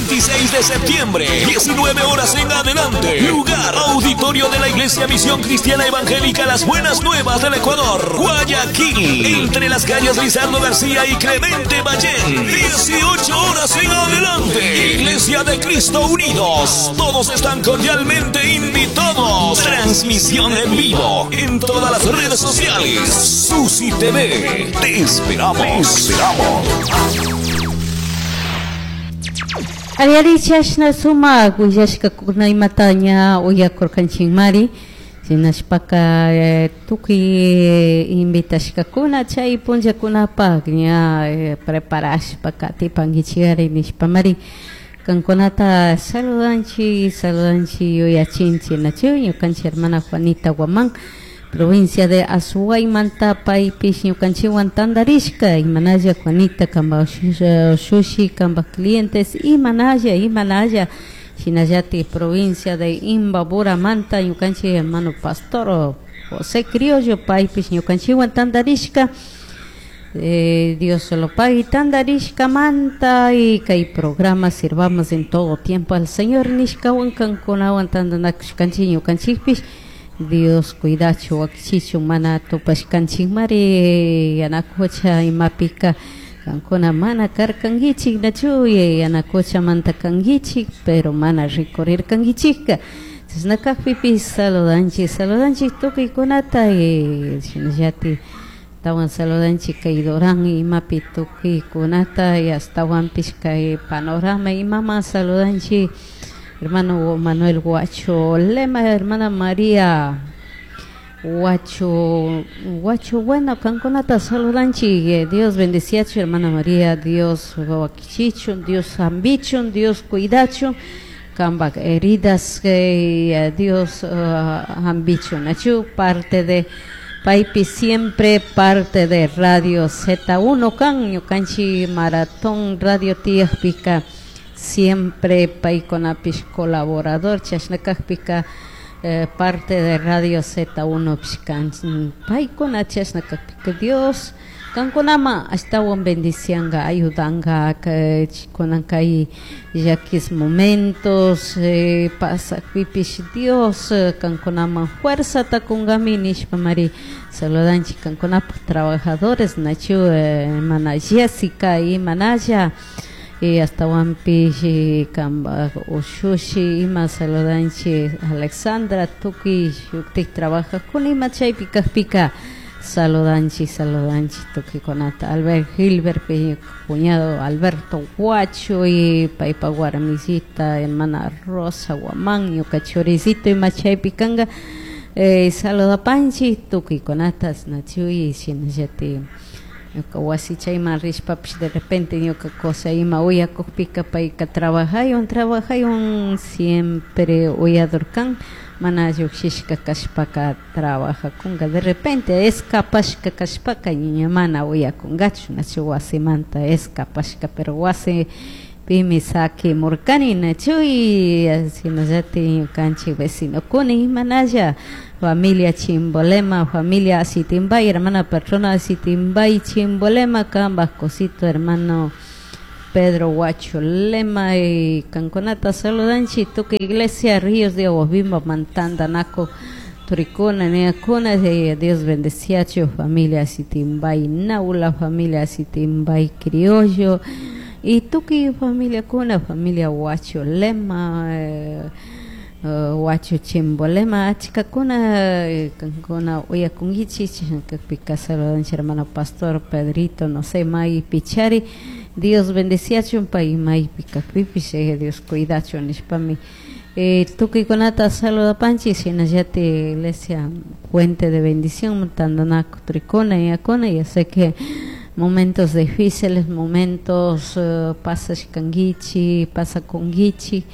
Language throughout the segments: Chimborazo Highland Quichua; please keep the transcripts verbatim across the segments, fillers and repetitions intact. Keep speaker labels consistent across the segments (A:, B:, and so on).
A: veintiséis de septiembre, diecinueve horas en adelante. Lugar, auditorio de la Iglesia Misión Cristiana Evangélica Las Buenas Nuevas del Ecuador, Guayaquil, entre las calles Lizardo García y Clemente Ballén. dieciocho horas en adelante. Iglesia de Cristo Unidos. Todos están cordialmente invitados. Transmisión en vivo en todas las redes sociales. Susi T V. Te esperamos. Te esperamos.
B: Ariari chashna sumak willashkakuna imata ña uyakurkanchikmari shinashpaka tukuy invitashkakuna chay punllakunapak ña preparashpa katipankichikari nishpamari kankunata saludanchik saludanchik yuyachinchik nachu ñukanchik hermana Juanita Guamán provincia de Azuaymanta paypish ñukanchikwan tantarishka imanalla Juanita kamba shushi kamba clientes imanalla imanalla shinallatik provincia de Imbaburamanta ñukanchik hermano pastor José Criollo paypish ñukanchikwan tantarishka eh, Dios se lo pague tantarishkamanta y kay programa sirvamos en todo tiempo al Señor nishkawan kankunawan tantanakushkanchik ñukanchikpish Dios cuidachu wakichichu mana tupashkanchikmari yanakucha imapika kankuna mana karkankichik nachu yanakuchamanta kankichik pero mana rikurirkankichikka chashna kakpipish saludanchik saludanchik tukuykunata y shinallatik tawan saludanchik kay Durán imapi tukuykunata y astawanpish kay Panorama imama saludanchik hermano Manuel Guacho Lema, hermana María Guacho, Guacho, bueno, kankunata saludanchik, Dios bendeciachu, hermana María, Dios wakichichun, Dios hambichun, Dios cuidachun, kambak heridas, eh, Dios uh, hambichun, nachu, parte de paypi siempre parte de Radio Z uno kan, ñukanchik Maratón Radio tiyakpika, siempre paykunapish colaborador chashna kakpika eh, parte de Radio Z uno pishkan paykuna chashna kakpika Dios kankunama ashtawan bendicianga ayudanga kunan kay llakis momentos eh, pasakpipish Dios kankunaman fuerzata kunkami nishpa mari saludanchik kankunapaj trabajadores nachu eh, hermana Jessica y manalla y astawanpish kamba ushushi ima saludanchik Alexandra tukuy shuktik trabajajkuna ima chaypi kakpika saludanchik saludanchik tukuykunata Albert Gilbert cuñado Alberto Guacho y paypa warmisita hermana Rosa Guamán ñuka churicito ima chaypi kanka eh, saludapanchik tukuykunata nachuy shinallatik ñuka wasi chayman rishpapish de repente ñuka cosa ima uyakukpika payka trabajaywan trabajaywan siempre uyador kan mana llukshishka kashpaka trabajakunka de repente escapashka kashpaka ña mana uyakunkachu nachu wasimanta escapashka pero wasi pimi sakimurkani nachu y shinallatik ñukanchik vecinokuna imanalla familia Chimbolema, familia Asitimbay, hermana patrona Asitimbay, Chimbolema, kambaj cosito, hermano Pedro Guacho Lema y kankunata saludanchik tukuy iglesia Ríos de Aguas Bimba mantantanaku turikuna niyakuna Dios bendeciachu familia Asitimbay Naula, familia Asitimbay Criollo y tukuy familia kuna, familia Guacho Lema, eh, Uh, Guacho Chimbolema achkakuna kankuna uyakunkichik chashna saludanchik hermano pastor Pedrito no sé maypi chari Dios bendeciachun pay maypi kakpipish Dios cuidachun nishpami eh, tukuykunata saludapanchik shinallatik iglesia Puente de Bendición tantanaku turikuna yakuna ya sé que momentos difíciles momentos uh, pasashkankichik pasakunkichik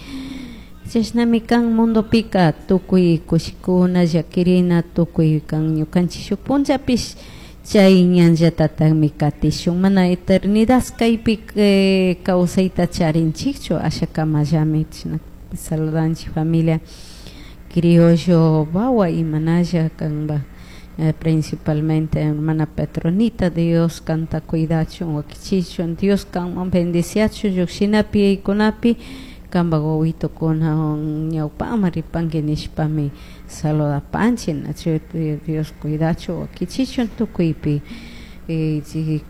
B: chashnami kan mundopika tukuy kushikuna llakirina tukuy kan ñukanchik shuk punllapish chay ñanllatatakmi katishun mana eternidad kaypi eh, kawsayta charinchikchu ashakamallami chashna saludanchik familia Criollo Bawa imanalla kanpak eh, principalmente hermana Petronita, Dios kanta cuidachun wakichichun, Dios kanwan bendiciachun llukshinapi kunapi kanpak wawitokuna ñawpaman ripanki nishpami saludapanchik, nachu Dios cuidachun wakichichun tukuypi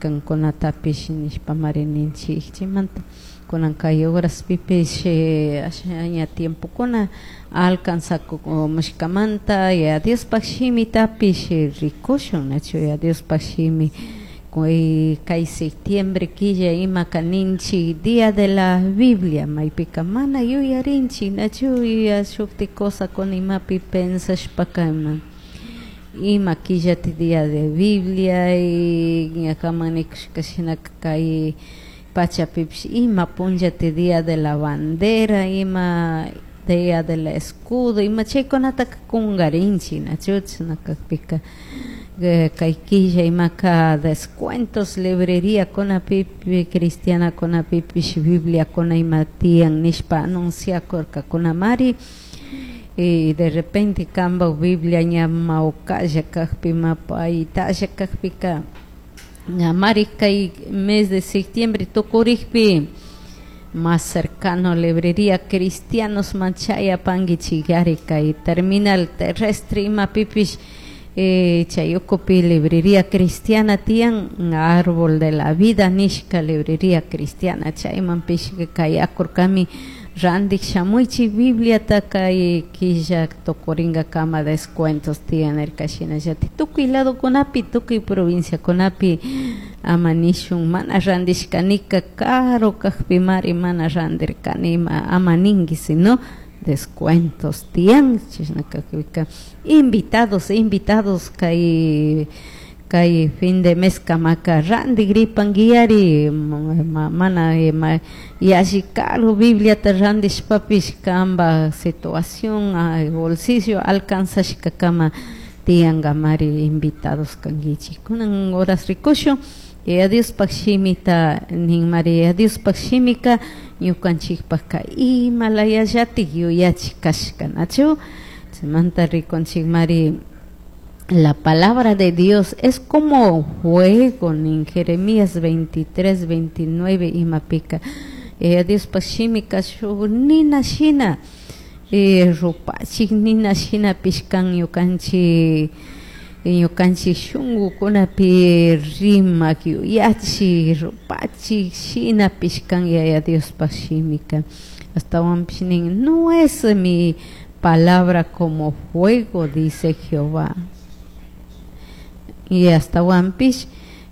B: kankunatapish nishpamari ninchik. Chaymanta kunan kay horaspipish asha ña tiempokuna alcanzakumushkamanta Yaya Diospak shimitapish rikushun, nachu Yaya Diospak shimi kay septiembre killa imaka ninchik Día de la Biblia, maypika mana yuyarinchik, nachu shuktik cosakuna imapi pensashpaka ima ima killati Día de Biblia y ñakaman nikushka shinaka kay pachapipish ima punllati Día de la Bandera, ima Día del Escudo, ima chaykunataka kungarinchik, nachu chashna kakpika kay killa imaka descuentos librería kunapipish cristiana kunapipish Biblia kuna ima tiyan nishpa anunciakurkakunamari y de repente kanpak Biblia ña mawkalla kakpi mapaytalla kakpika ñamari kay mes de septiembre tukurikpi más cercano librería cristianos manchayapankichikari kay terminal terrestre imapipish eh, chay ukupi librería cristiana tiyan árbol de la vida nishka librería cristiana chaymanpish kayakurkami randik shamuychik Bibliata kay killa tukurinkakama descuentos tiyan nirka shinallatik tukuy ladokunapi tukuy provinciakunapi ama nishun mana randishkanika caro kakpimari mana randirkani ama ninki sino descuentos tiyan chashna kakpika invitados invitados kay kay fin de mes kamaka randigripankiyari mana yalli caro Bibliata randishpapish kanpak situación bolsillo alcanzashkakama tiyankamari invitados kankichik. Kunan horas rikushun Yaya Diospak shimita ninmari Yaya Diospak shimika ñukanchikpaka ima layallatik yuyachik kashka, nachu chaymanta rikunchikmari la palabra de Dios es como fuego nin Jeremías veintitrés, veintinueve imapika Yaya Diospak shimika shuk nina shina rupachik nina shinapish kan ñukanchik ñukanchik shunkukunapi rimak yuyachik rupachik shinapish kan Yaya Diospak shimika ashtawanpish nin no es mi palabra como fuego, dice Jehová, y ashtawanpish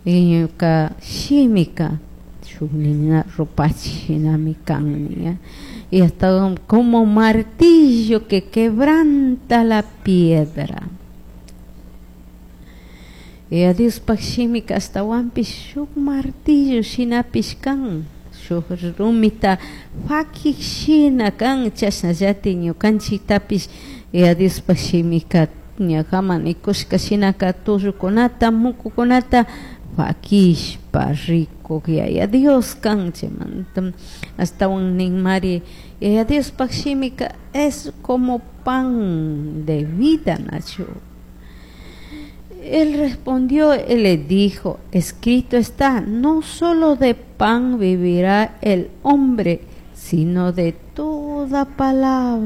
B: ñuka shimika shuk nina rupachik shinami kan nin y hasta como martillo que quebranta la piedra. Yaya Diospak shimika ashtawanpish shuk martillo shinapish kan shuk rumita fakik shina kan chashnallatik ñukanchiktapish Yaya Diospak shimika ñakaman nikushka shinaka tullukunata mukukunata fakishpa rikuk Yaya Dios kan chaymanta ashtawan ninmari Yaya Diospak shimika es como pan de vida, nachu. Él respondió y le dijo, escrito está, no solo de pan vivirá el hombre, sino de toda palabra